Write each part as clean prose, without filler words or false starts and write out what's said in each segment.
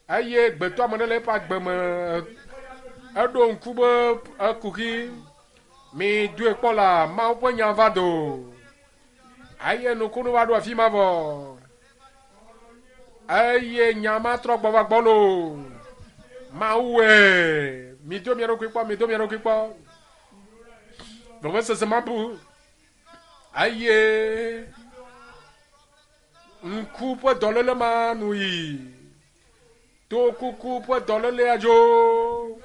Eye gbetɔame ɖe le eƒe agbe me eɖo ŋku be ekuxi mi doe kpɔ la Mawu ƒe nya va do. Eye nukunu va ɖo afi ma vɔ. Eye nya ma trɔ gbɔ va gbɔ lo. Mawue. Mi do mia ɖokui kpɔ, mi do mia ɖokui kpɔ. Vevesese ma bu. Eye ŋku ƒe dɔléle ma nu yi. Tokuku ƒe dɔlélea dzo.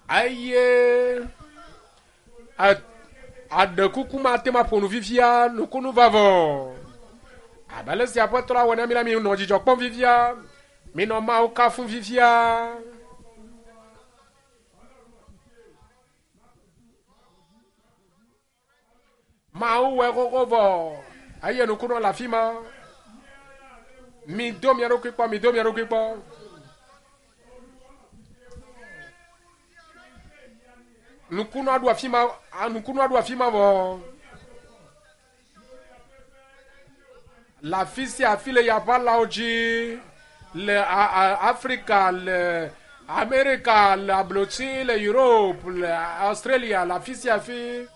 Eye aɖekuku ma te ma ƒo nu fifia nukunu vavɔ. Abe ale si Aƒetɔ la wɔ na mi la, mi nɔ dzidzɔ kpɔm fifia. Mi nɔ Mawu kafum fifia. Mawu wɔe xoxo vɔ eye nukunɔ le afi ma. Mido mia ɖokui kpɔ, mido mia ɖokui kpɔ. Nukunua ɖo afi ma, nukunua ɖo afi ma vɔ. Le afi sia afi le yaʋalawo dzi, le Afrika, le Amerika, le ablotsi, le Europe, le Australia, le afi sia afi.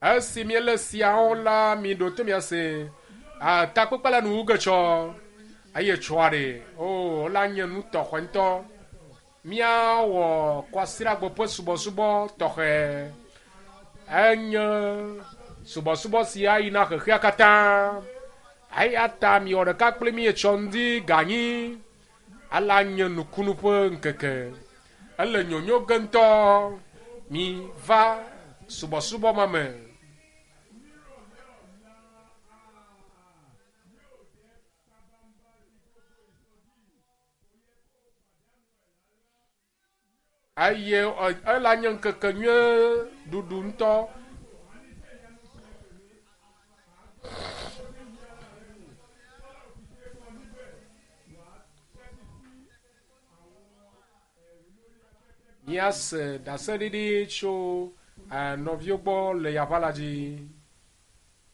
Esi míele siawo la, miɖo to miase. Takpekpe la nuwu ge tsɔ eye tsɔa ɖe. O, la nye nu tɔxɛ ŋutɔ. Míawɔ kwasiɖagbe ƒe subɔsubɔ tɔxɛ. Enye subɔsubɔ si ayi na xexea katã. Eya ta miwɔ ɖeka kpli mí etsɔ ŋdi ganyi. Ala nye nukunu ƒe ŋkeke. Ele nyonyo ge ŋutɔ. Mi va subɔsubɔ ma me. Eye ela nye ŋkeke nyuie ɖuɖu ŋutɔ. Míase ɖaseɖiɖi tso nɔviwo gbɔ le yaʋa la dzi.